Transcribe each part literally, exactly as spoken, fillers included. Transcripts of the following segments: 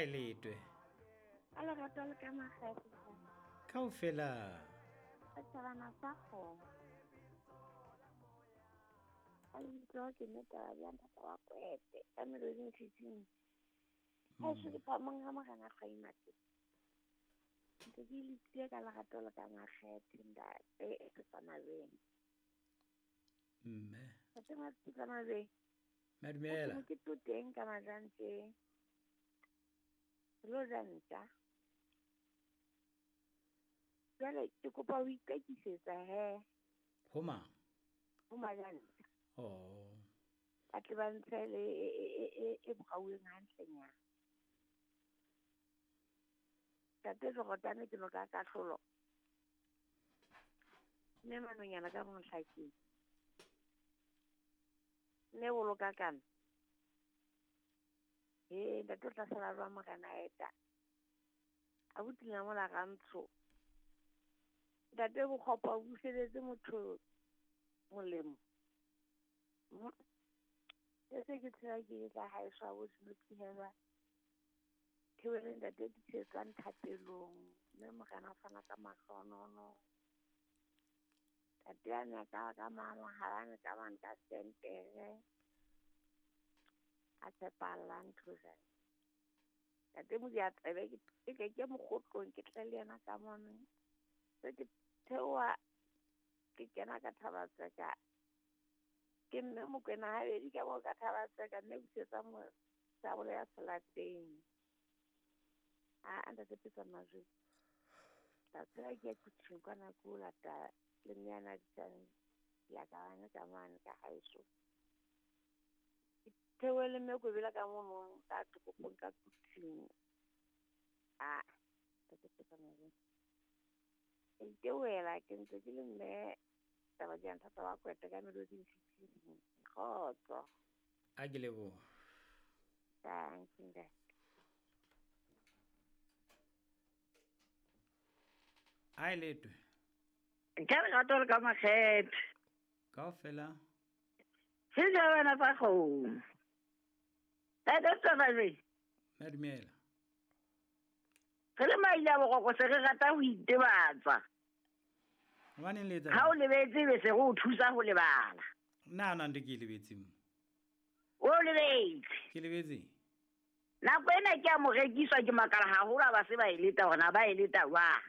A e letwe. A lerato le ka makgethe. Kaofela. Setjhabana sa kgomo. A lebitso ke mme taba ya ntate wa Kwete ka meloding fifteen. Ha se ke phamong ha morena Kgaimate. Ntse ke letile ka lerato le ka makgethe ntate e tsamayeng. Mme. Ntate Mapitsa-Majweng. Madumela. Ke to teng ka majanteng. Lo janta. Jwale ke kopa ho ikakisetsa he. Ho mang? Ho majanta. Oh. Ba tle ba ntshe le e e e e bokgauweng hantlenyana. Ntate Jorotane ke no ka kahlolo. Mme manonyana ka montlhakeng. Mme boloka kana. He ntate o tla sala jwang morena eta. Abuti mola rantsho. Ntate bokgopo o buseletse motho molemo. Se se ke tsela ke tla haeswa bo senotsihelwa. Thewele ntate di tswang thapelong mme morena fana ka mahlonono. Ntate a ne ka ka mama ha ne ka bana ka sentere. A tshepala ntho jwale. Ntate mo di a tsebe ke ke ke mokgotlong ke tle le yena ka mona. Se ke theoha ke kena ka Thabatseka. Ke mme Mokwena habedi ka mo ka Thabatseka mme busetsa mo sabole ya selateng. A ntate Pitsa-Majweng. Ta tsela ke kutshin kwana ko lata le nyana ditsang ya ka bana ka mane ka haeso. Theohele mme Kobela ka mono ka toropong ka kutshin. A ntate Pitsa-Majweng. Ke theohela ke ntse ke le mme taba ya ntate wa Kwete ka meloding fifteen. Kgotso. A ke leboha. Thank you. A e letwe. Ke lerato le ka makgethe. Kaofela. Setjhabana sa kgomo. Ntate Tsabalwe. Madumela. Re le maile a boroko se re rata ho itebatsa. Hobaneng le etsa? Ha o lebetse be se re o thusa ho lebala. Nna na ntho ke e lebetse mo. O lebetse. Ke lebetse. Nako ena ke a mo rekiswa ke makala haholo ha ba se ba e leta hore na ba e leta jwang.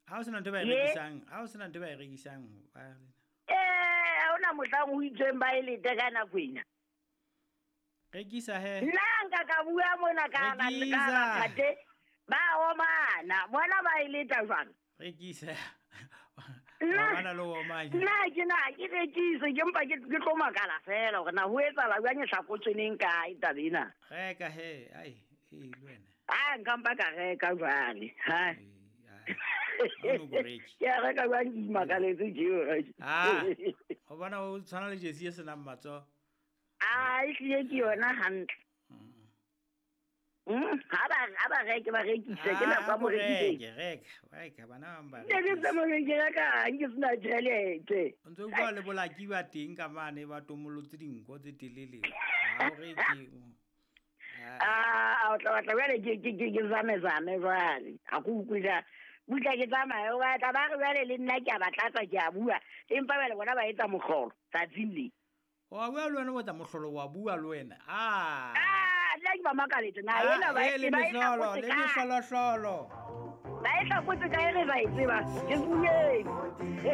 Ha o sena ntho ba e rekisang, ha o sena ntho ba e rekisang ba Eh, ha ona mohlang ho itsweng ba e lete ka nako ena. Rekisa he. Nna nka ka bua mona ka ba ka ba ba omana, bona ba e leta jwang? Rekisa. Ba bana le omanya. Nna ke na ke rekise ke mpa ke ke tlo makala fela hore na ho etsahala jwang e hlakotsweneng kae taba ena. Reka he, ai, e le wena. Ah, nka mpa ka reka jwale. Ha. Ke a reka jwang ke imakaletse tjeo. Ah, o bona o tshwana le jesi e senang matsoho. Ah, ehlile ke yona hantle. Mm, ha ba ha ba reke ba rekise ke nako ya morekisi. Reke, reka, reka bana ba ba. Ke tsamaya ke reka ke sena tjhelete. O ntse o bua le bolaki ba teng ka mane ba tomolotse dinko tse telele. Ha o reke. Ah, o tla batla jwale ke ke ke zame zame jwale. Ha ke utlwe ja. Butla ke tsamaya o batla ba re jwale le nna ke a ba tlatsa ke a bua. Empa jwale bona ba etsa mohlolo tsatsing le. Wa bua le wena o etsa mohlolo wa bua le wena. Ah. Ah, nna ke ba makaletse na ena ba e le mehlolo, le mehlolo hlolo. Ba e hlakotse kae re ba e tseba. Ke bueng.